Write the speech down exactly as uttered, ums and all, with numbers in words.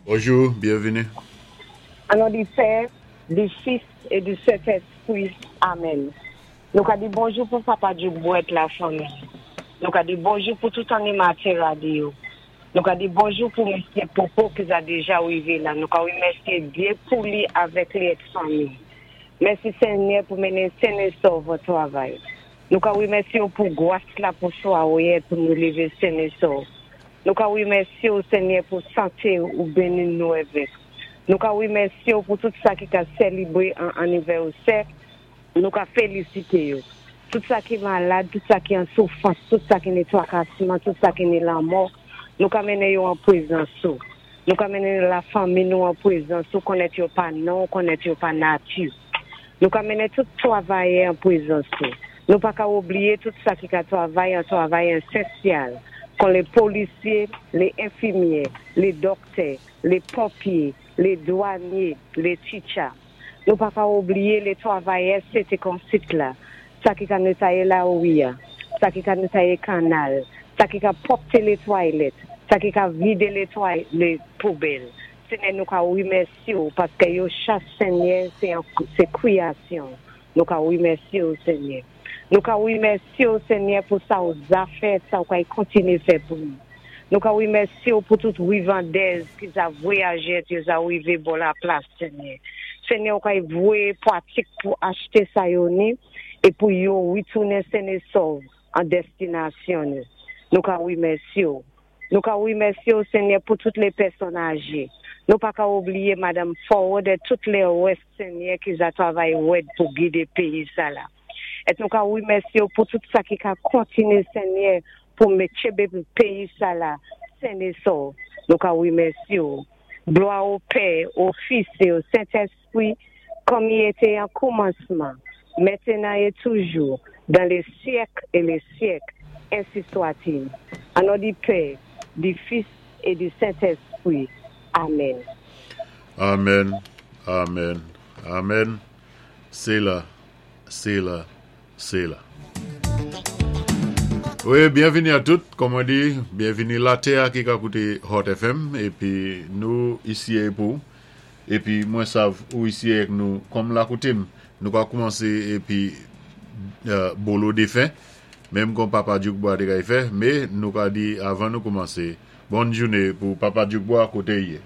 Bonjou, byenvini. An non di Pè, di Fis é di Sentèspwi. Amen. Nou ka di bonjou pou Papa Djoubouet lafanmi. Nou ka di bonjou pou tout animatè radyo. Nou ka di bonjou pou Mesye Popo ki za déja wivé la. Nou ka wimèsyé Dye pou li avèk li èt fanmi. Mèsi Senyè pou mennen sen é sòv an twavay. Nou ka wimèsyé ou pou gwas la pou swawoyè pou nou lévé sen é sòv. Nou ka wimèsyé ou Senyè pou santé ou béni nou avèk. Nou ka wimèsyé ou pou tout sa ki ka sélébwé an anivèsè, nou ka félisité yo. Tout sa ki malad, tout sa ki an soufwans, tout sa ki ni twakasman, tout sa ki ni lanmò, nou ka mennen yo an pwézans ou. Nou ka mennen lafanmi nou an pwézans ou, konnèt yo pa non, konnèt yo pa nati. Nou ka mennen tout twavayè an pwézans ou. Nou pa ka oubliyé tout sa ki ka twavay an twavay ésansyèl, kon lé polisyé, lé enfimyè, lé dòktè, lé ponpyé, lé dwanyé, lé teacher. Nou pa ka oubliyé lé twavayè Sete Konsit la, sa ki ka netwayé lawi-a, sa ki ka netwayé kannal, sa ki ka pwòpté lé twalèt, sa ki ka vidé lé tway, lé poubèl. Senyè nou ka wimèsyé ou paské yo chak Senyè sé sé kwéyasyon. Nou ka wimèsyé ou Senyè. Nou ka wimèsyé ou Senyè pou sa ou za fè, sa ou kay kontiné fè pou nou. Nou ka wimèsyé ou pou tout wivandèz ki za vwayajé, yo za wivé bò la plas Senyè. Senyè ou kay voyé pwatik pou achté sa yo ni é pou yo witounen sen é sòv an destinasyon nou. Nou ka wimèsyé ou. Nou ka wimèsyé ou Senyè pou tout lé pèsonn ajé. Nou pa ka oubliyé Madam Forward é tout lé wès Senyè ki za twavay wèd pou gidé péyi sa la. É nou ka wimèsyé ou pou tout sa ki ka kontiné Senyè pou mété péyi sa la sen é sòv. Nou ka wimèsyé ou. Glwa o Pè, o Fis é o Sentèspwi, kòm i été an koumansman, mentenan é toujou, dan lé syèk é lé syèk, ensi swat-il. An non di Pè, di Fis é di Sentèspwi. Amen. Amen, amen, amen. Séla, séla, séla. Wi, byenvini a tout, kòm on di, byenvini latè ki ka kouté Hot FM, épi nou isi pou, épi mwen sav ou isi avèk nou, kòm la koutim, nou ka koumansé épi euh, bolo défen, menm kon Papa Djoukbois té kay fè, mé nou ka di avan nou koumansé, bòn jouné pou Papa Djoukbois koté i yé.